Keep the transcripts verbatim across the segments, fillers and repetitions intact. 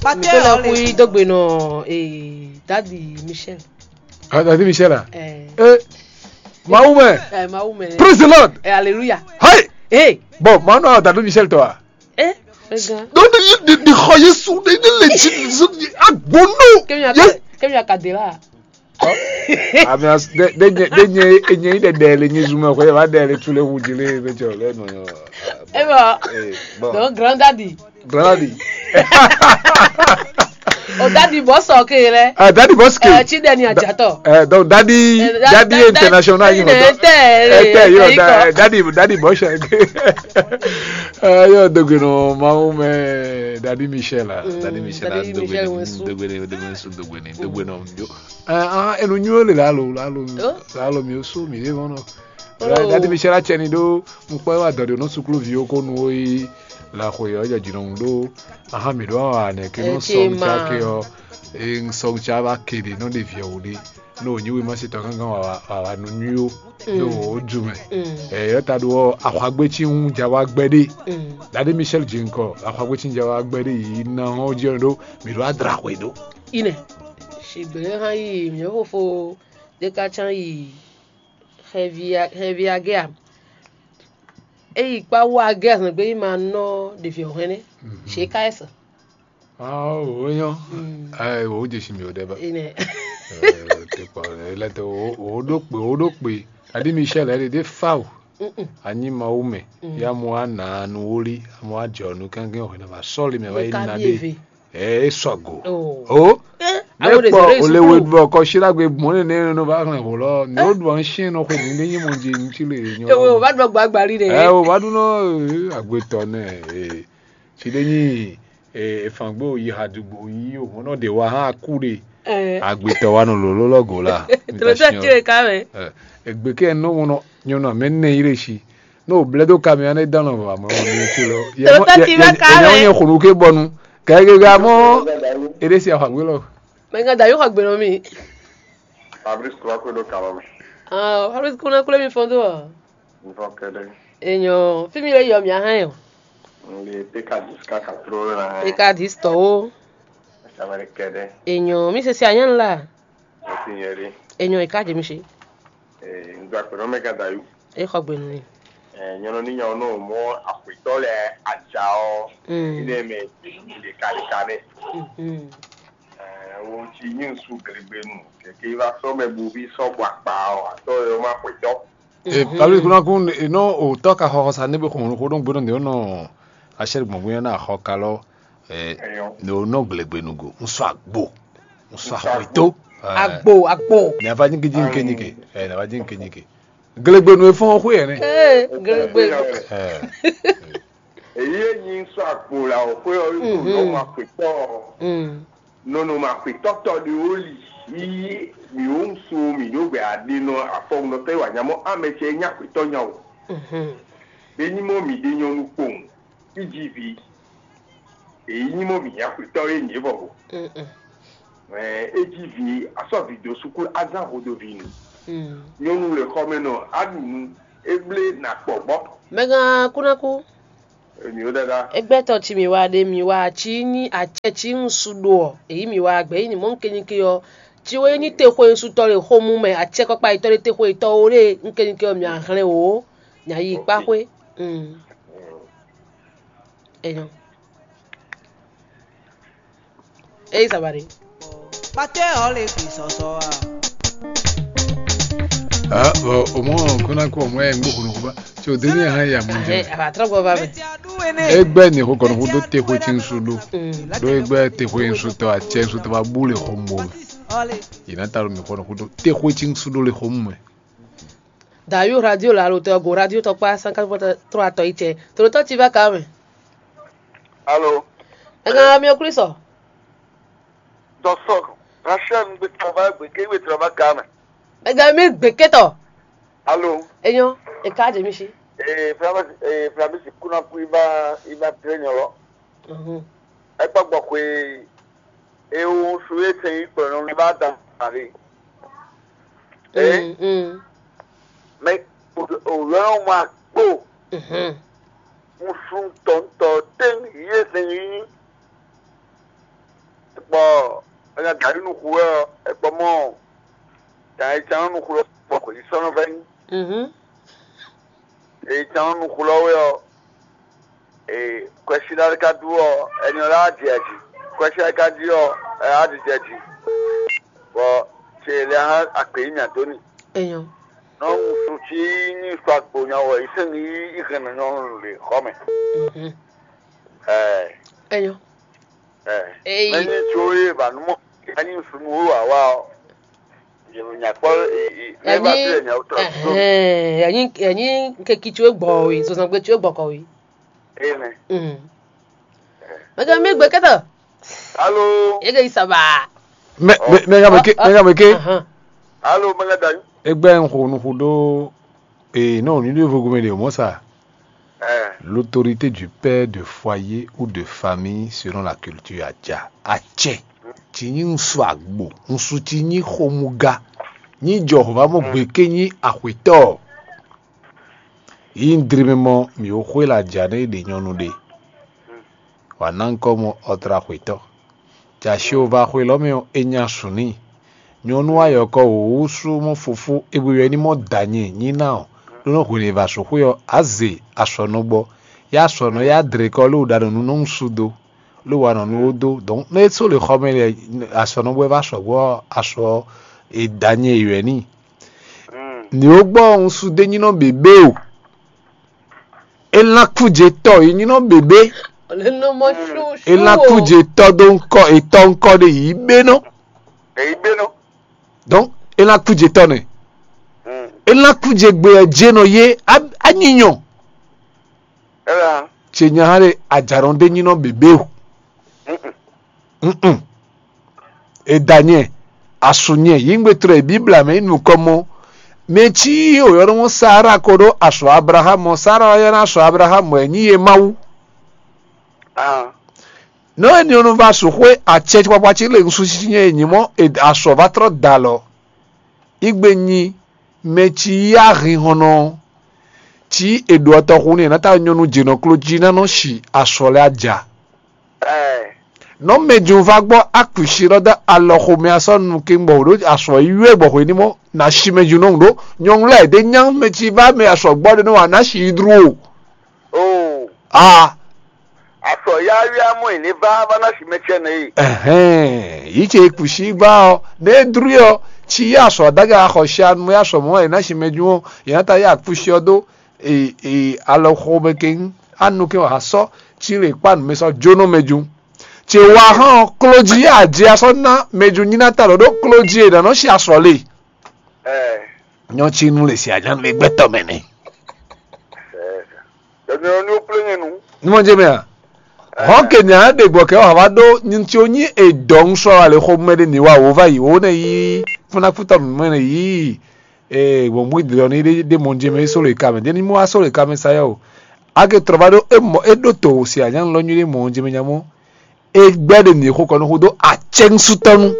Mǐ tó lɛ́ kú yi dó gbe nɔ ee, Dadi Michel. Ah, Dadi Michel a? Eh. Eh, Mawu mɛ. Eh, Mawu mɛ. Praise the Lord. Eh, hallelujah. Hey. Hey. Bon, manu a Dadi Michel tɔ a? Eh, ega. Don't you the the xɔ Yesu the the legit Yesu agbonu. Kemi aka Yes. Kemi aka de la. Ami as de de nye de nye enye yi ɖeɖe le nyi zumɛ xɔ va ɖe le tu le wu dzi le be jɔ le nɔ. Eh bon. Eh, bon. Donc grand daddy. Grand daddy. O daddy boss, ok lɛ. Ah, daddy boss ke. Eh, Chideni Ajatɔ. Eh, donc daddy Eh, da- daddy da- international daddy yìí na mọ̀. Ete Eh, ete yìí ete da- daddy daddy boss. Eh, yóò dogbe nɔ mawu mɛ daddy Michel la. Mm, Daddy Michel la Daddy dogbe Michel ni Wensu. Dogbe ni dogbe ni su dogbe ni dogbe nɔ jo. Ah, ah, enu nyo le lalo lalo Oh. Lalo mi osu mi de mɔnɔ. Oh. Daddy Michel la cɛ ni do nkpɔ wa dɔde no sukulu vi ko nu o yi la xwe yɔ jɛ jinɔ mu do. Aha mi do wa ne ke no Eh, sɔn Chima. Cha ke ɔ. E sɔn cha va ke de no de vi o de. No nyi wi ma se tɔ gangan wa wa wa nu nyo. Do o ju mɛ. Mm. Eh, yɔ ta do axwagbe chi un ja wa gbɛ de. Mm. Daddy Michel jinkɔ axwagbe chi un ja wa gbɛ de yi na o jɛ do mi do adra xwe do. Ine. Shigbe hã yi mi fofo ɖeka can yi xɛvi xɛvi agea. Eyi kpa wu agea zan gbe yi ma nɔ ɖevi ɔhɛn ne. She ka esa. Ah, o nyɔ. Mm. Ai, o je shi mi o deba. Ine. Eh, te pa le te o o do pe o do pe. Adi Michel ele de fau. Mm-mm. Anyi mawu me. Mm. Ya mo ana nu woli, mo ajɔ nu kankan o na va sɔli me va yi Ka na bi de. Eve. Eh, e sɔgo. Oh. Oh. Eh, Ne awo de kpɔ zero o le we suku. Bɔ kɔ shi la gbe mɔ ne ne no va hɛn ho lɔ. Ne o do an shi no xo ni ne nyi mo je nti le nyɔ. Ewe o va ɖɔ gbagbali de. Eh, o va ɖu nɔ eh, agbetɔ nɛ. Eh. Shi de nyi eh, efangbe o yi ha dugbo yi o mɔ nɔ de wa ha ku de. Eh. Agbetɔ wa nɔ lolo lɔ go la. Tolo tɛ ti le ka mɛ. Eh, egbe ke no mo nɔ nyɔ nɔ me ne yi le shi. No blɛ do ka mi ane dan nɔ va mɔ ni ti lo. Tolo tɛ ti va ka mɛ. Ye xunu ke bɔnu. Ka ge ga mɔ. Ede si afagbe lɔ. Mɛ nga da yo xɔ gbe nɔ mi. Fabrice kura ko do kalɔ me. Ah, Fabrice kuna kule mi fɔn do. Nvɔ kɛɖɛ. Enyo, fi mi le yɔ mi ahɛn o. Nge peka dis kaka tro na. Peka dis tɔ o. Samari kɛɖɛ. Enyo, mi se si anyan la. Esi nyɛ ɖe. Enyo e ka je mi se. Eh, ndu akpɛnɔ mɛ ka da yu. E xɔ gbe nɔ ni. Eh, nyɔnɔ ni nyɔnɔ nɔ mɔ akwetɔ lɛ aja ɔ. Mm. Ine mɛ de ka de ka ne. Mm. Eh, wo ti nyi su glegbe nu. Keke va sɔ mɛ bu bi sɔ bɔ akpa ɔ, atɔ yɔ ma akwetɔ. E pabli kuna kun e nɔ o tɔ ka xɔ xɔsa ne be xɔmɔ xɔ ɖo gbɛdɔ ne nɔ asɛri gbɔn gbɛdɔ na xɔ kalɔ e ne o nɔ glegbenu go ŋsɔ agbo ŋsɔ axɔto Agbo, agbo. Ne ava nyike ji nke nyike e ne ava ji nke nyike glegbenu e fɔn xɔ yɛ ne Ee, glegbe. Èyí é nyí sɔ́ agbo la ɔ́ xwé ɔ́ yí kpo nɔ́ ma xwetɔ́ ɔ́. Mm. Nɔnɔmɛ axwetɔ́tɔ́ ɖé ó li yí mǐ ó ŋsu mǐ ɖó gbɛ aɖe nɔ afɔwunɔtɔ́ e wa nya mɔ amɛ ce é nyí axwetɔ́ nya o. Mhm. Ényí mɔ mǐ ɖe nyɔ́ nú kpowun, fí jí vǐ. Èyí nyí mɔ mǐ nyí axwetɔ́ e nyǐ vɔ go. Mm-mm. Mɛ é jí vǐ, a sɔ́ vǐ dó sukúlu, a zán hodoví nu. Mm. Nyɔ́nu le xɔmɛnɔ, a ɖu nu, é blé nǎ kpɔ gbɔ. Mɛgan kúnákú. Èmi ó dáadáa. Égbɛ́tɔ́ ci mǐ wa ɖe mǐ wa cí nyí acɛ cí ŋsu ɖo ɔ́, èyí mǐ wa gbɛ̌ yi mɔ̌ kényíké ɔ́, ci wɛ nyí texwe ŋsutɔ́ le xomú mɛ acɛkɔ́kpa yětɔn ɖé texwe yětɔn ó ɖe kényíké ɔ́ mǐ a hlɛn wǒ, mǐ a yi kpá xwé. Mm. Enyɔ. Eyi sabari. Kpatɛ ɔ le fi sɔsɔ a. Ah, bon, au moins, kuna ko mwe ngbo kuno kuba. So deni ha ya munje. Ahe, aba trɔ go ba be. Egbe ni ko kono kudo te ko tin sudo. Mm. Do egbe te ko in suto a che suto ba bule hombo. Ina taro mi kono kudo te ko tin sudo le hombo. Dayo radio la lo tɔ go radio tɔ kpa cent quatre-vingt-trois tɔ itsɛ. Tolotɔ ti va ka mɛ. Alo. Ega mi o Kristo. Dɔsɔ, Rachel, un gbe travail, gbe ke we travail ka mɛ. Ega mi gbe ketɔ. Alo. Enyo, e ka je mi si. Eh, Flamis, eh, Flamis, kuna ku iba, iba tre nyɔlɔ. Mhm. Ekpa gbɔ kwe, e o su e se yi kplɔ nɔ mi ba dan are. Eh? Mm, mm. Mais o o yɔ ma kpo. Mhm. Un sun tɔntɔ ten ye se yi. Bɔ enya dǎ yi nú xu wɛ ɔ́, é gbɔ mɔ dǎ yi tán nú xu lɔ bɔ xwě sɔ́ nɔ vɛ́ nyi. Mhm. Èyí tán nú xu lɔ wɛ ɔ́, ee kwɛ́sílá ka dú ɔ́, ɛni ɔ́ lá jɛ jí. Kwɛ́sílá ka dí ɔ́, ɛ á jijɛ jí. Bɔ ce lɛ hã akpě yi mì adó ni. Enyo. Nɔ ŋusu tí ní sɔ agbo nya wɔ yi sɛn ní yi hɛn nɔ nyɔnu le xɔ mɛ. Mhm. Ɛ Enyo. Ɛ Eyi. Mɛni tso ye ba nu mɔ ani sunu wo wa wa ɔ. Yɛ nya kpɔ e e ne ba Yanyi fi yɛ nya wutɔ. Ɛhɛn, yanyi yanyi keki tso gbɔ we, zozɔngbe tso gbɔ kɔ we. Ene. Mm. Mɛgɛ mi gbɛ kɛtɔ. Alo. Ege isaba. Mɛ mɛ mɛ ka mɛ ke mɛ ka mɛ ke. Ahan. Alo mɛ ka da. Egbɛ n xo nu xo ɖo. Ee, non, ní ɖo vogo mɛ ɖe o mɔ sa. Ɛ. L'autorité du père de foyer ou de famille selon la culture a ja. Acɛ. Ci nyi ŋsu agbo, ŋsu ci nyi xomuga. Nyi jɔ hova mɔ gbe ke nyi axwetɔ. Yi ndri mɛ mɔ mi wo xwe la ja ne ɖe nyɔnu ɖe. Wǎ ná ŋkɔ mɔ ɔtlaxwetɔ. Jǎ Jehová xwé lɔ́ mɛ ɔ́, é nya su n'i. Nyɔ̌nu ayɔkɔ wǒ sú mɔ fofó é bó ylɔ́ ní mɔ dǎ nyɛ nyí ná ɔ́, ɖó nɔ́ hwenu e è va sú xwé ɔ́, á ze asɔ̌nɔ gbɔ. Yá asɔ̌nɔ yá dlě kɔ lóo ɖa nɔ nú nɔ́ sú dó, lóo wa nɔ nú ó dó. Donc nú é só le xɔ mɛ lɛ asɔ̌nɔ bɔ é va sɔ̌ gbɔ ɔ́, asɔ e dǎ nyɛ ylɔ́ n'i. Nǐ ó gbɔ un sú dó nyí nɔ běbé o. É ná kú jɛ tɔ yi nyí nɔ běbé. Lé nɔ mɔ sú É ná kú jɛ tɔ dó ŋkɔ, etɔ ŋkɔ ɖe yǐ bé nɔ. Èyí bé nɔ. Donc é ná kú jɛ tɔ nɛ. É ná kú jɛ gbé ɛ jɛ nɔ yé á- á nyi nyɔ. Ɛ bɛ hã. Tse nya hã ɖe ajarɔn ɖé nyí nɔ běbé o. Mm-mm. E da nyɛ, asu nyɛ, yǐngbe tlɔ e Bibla mɛ yi nukɔn mɔ. Mɛ cí o yɔ́ nɔ Sara ko ɖó asɔ Ablaham, Sara ɔ́ yɔ́ ná asɔ Ablaham wɛ nyí ye Mawu. Ah. Nɔ e nyɔnu va su xwé acɛ kpakpa cí le ŋsu cí nyɛ e nyí mɔ e asɔ va trɔ da lɔ. Igbe nyi mɛ cí yá hinhɔnnɔ cí e ɖo ɔtɔxu nú e ná ta nyɔnu jěnɔ kló jí ná nɔ si asɔ lɛ́ɛ aja. Nɔ mɛjun va gbɔ akusi lɔ da alɔ xomɛ asɔ nu ke gbɔ ɖo asɔ yi yɔ gbɔ xwe ní mɔ na si mɛjun nɔ ɖo nyɔnu lɛ de nya mɛ ci va mɛ asɔ gbɔ ɖe nɔ wa na si yi dru o. Oh. A. Asɔ ya yɔ amɔ yi ne va va na si mɛ cɛ nɛ yi. Ɛhɛn, yi ce kusi va ɔ ne dru ɔ ci yi asɔ daga xɔ si anu ya sɔ mɔ yi na si mɛjun ɔ yi na ta ya kusi ɔ do e e alɔ xomɛ ke anu ke wa sɔ ci le kpa nu mɛ sɔ jo nɔ mɛjun. Tse wa hɔn klodzi ya dzi asɔ na mɛju nyina ta lɔ ɖo klodzi e nanɔ si asɔ le. Nyɔ tsi nu le si anyanu e gbɛtɔ mɛ nɛ. Nyɔ ni o kple nyɛ nu. Numɔ jɛ mɛ a? Hɔn ke nya ɖe gbɔ kɛ wa va ɖo nyitsi o nyi edɔ ŋsɔ wa le xo mɛ ɖe ni wa wo va yi wo ne yi funa kutɔ mɛ ne yi. Ee, gbɔn mú idri ɔ ni ɖe ɖe mɔ jɛ mɛ solo e ka mɛ ɖe ni mɔ wa solo e ka mɛ sa yɛ o. Ake trɔ va ɖo e mɔ e ɖo to si anyanu lɔ nyui ɖe mɔ jɛ mɛ nya mɔ. Egbɛ́ ɖe mǐ xo kɔ nú xúdó acɛ́nsútɔ́nu.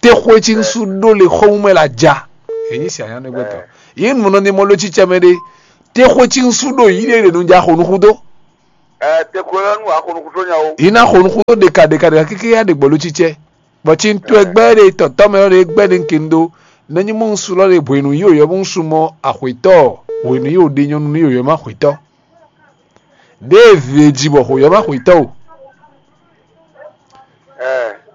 Texwe cí ŋsú ɖó le xɔ́mú mɛ la ja. Èyí si anyá nɛgbɛtɔ. Yě nu nɔ ní mɔ ló cí cɛ mɛ ɖé. Texwe cí ŋsú ɖó yí ɖe ɖe nu ja xo nú xúdó. Ɛ texwe lɔ nu axo nú xúdó nya o. Yí ná xo nú xúdó ɖeka ɖeka ɖeka kéké yá ɖe gbɔ ló cí cɛ. Bɔ cí ŋtú ẹgbẹ́ ɖe tɔ̀tɔ́ mɛ ɖé gbɛ́ ɖe ŋke ŋɖó. Nɛ́nyí mɔ ŋsu lɔ ɖe hwenu yí òyɔ mɔ ŋsu mɔ axwetɔ. Hwenu yí òɖe nyɔnu ní òyɔ mɔ axwetɔ. Ɖěe vǐ e ji bɔ xǒyɔ́ ma xwǐtɔ́ o.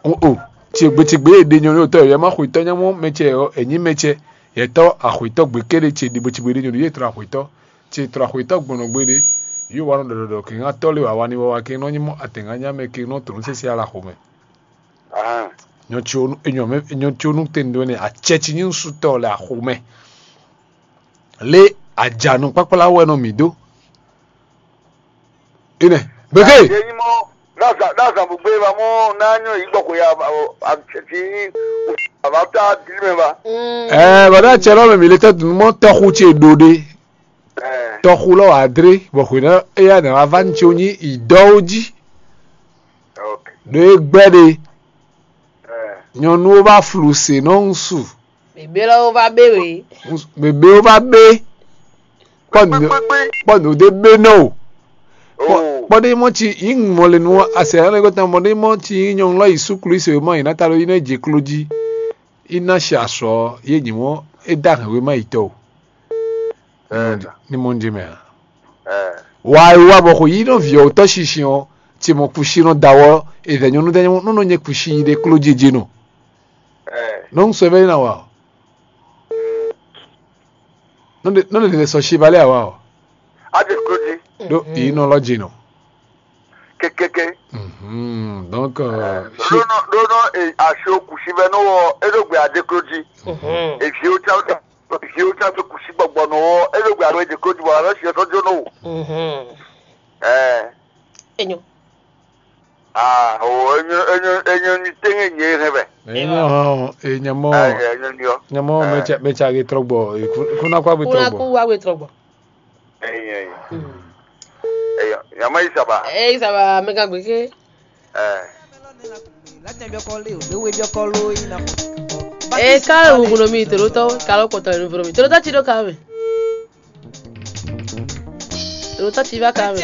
O o, ce gbe ce gbe e ɖe nyɔ̌nu tɔ́ yɔ́ ma xwǐtɔ́ nyɔ́mɔ mɛ ce ɔ́, è nyí mɛ ce, yɛtɔ́ axwǐtɔ́ gbe kéɖé ce ɖi bo ci gbe ɖe nyɔ̌nu yě tlɔ axwǐtɔ́, ce tlɔ axwǐtɔ́ gbɔn nɔ gbe ɖé, yě wa nɔ ɖɔ ɖɔ ɖɔ kɛnga tɔ́ lé wǎ wa ní wá wá kɛn nɔ nyí mɔ atɛ̌ngánnyá mɛ kɛn nɔ tlǒ sésé ala xomɛ. Nyɔ ce onú enyɔ mɛ enyɔ ce onú tɛn ɖó nɛ acɛ ci nyí ŋsutɔ le axomɛ. Lé ajanu kpákplá wɛ nɔ mǐ dó. Ine. Beke. Ye nyí mɔ ɖo azan ɖo azan bugbe ba mɔ ná nyɔ yi gbɔ ko ya ati ava ta dili mɛ ba. Ɛɛ bɔdɔ atsɛ lɔ mɛ mi le tɛ dunu mɔ tɔxu ce ɖo ɖe. Tɔxu lɔ wà dre bɔ xwe na eya na va va ní tso nyi idɔwo jí. Ɖo e gbɛ ɖe. Nyɔnuwo va flu se nɔ ŋsu. Bebé lɔ wo va bé we. Bebéwo va bé. Kpɔ nǔ kpɔ nǔ ɖé bé nɔ o. Kpɔ́ ɖé mɔ ci yǐ ŋmɔ le nú asɛ ɔ́ lɛ́ gɔ́tɔn mɔ ɖé mɔ ci yí nyɔ̌nu lɔ yi sú Klísu e mɔ yi ná ta ɖo yi ná je kló jí. Yi ná shi asɔ ɔ́, yé nyǐ mɔ é dó ahɛn wéma yi tɔ́ o. Ní mɔ jí mɛ a? Wa e wa bɔ xo yí nɔ viɔ wotɔ shinsin ɔ́, ce mɔ kusi nɔ da wɔ ezɛ nyɔnu dɛ nyɔnu nɔ nyɛ kusi yi ɖe kló jeje nɔ. Nɔ ŋu sɔ bɛ na wa o. Nɔ de nɔ de sɔ si balẹ awa o. Ade kló jí. Ɖo yi nɔ lɔ dzi nɔ. Kekeke. Donc ɖonɔ ɖonɔ aso kusi bɛ nɔ wɔ e ɖo gbe ade kló jí. Eviwo tsa eviwo tsa so kusi gbɔgbɔ nɔ wɔ e ɖo gbe alo ade kló jí bɔ alɔ si ɔtɔ jó nɔ wo. Ɛɛ. Enyo. Ah, o enyo enyo enyo ni tenge nye hɛn bɛ. Enyo hɔn e nyamɔ. Ayi enyo ni ɔ. Nyamɔ mɛtsa mɛtsa ge trɔgbɔ e kuna kwa gbe Kuna trɔgbɔ. Ku wa we trɔgbɔ. Eyi eyi. Eyi nyamɔ yi saba. Eyi saba mɛ ka gbe ke. Ɛɛ. Eka wuguno mi tolótɔ kalo kpɔtɔ nu voro mi tolótɔ ti ɖo ka mɛ. Tolótɔ ti va ka mɛ.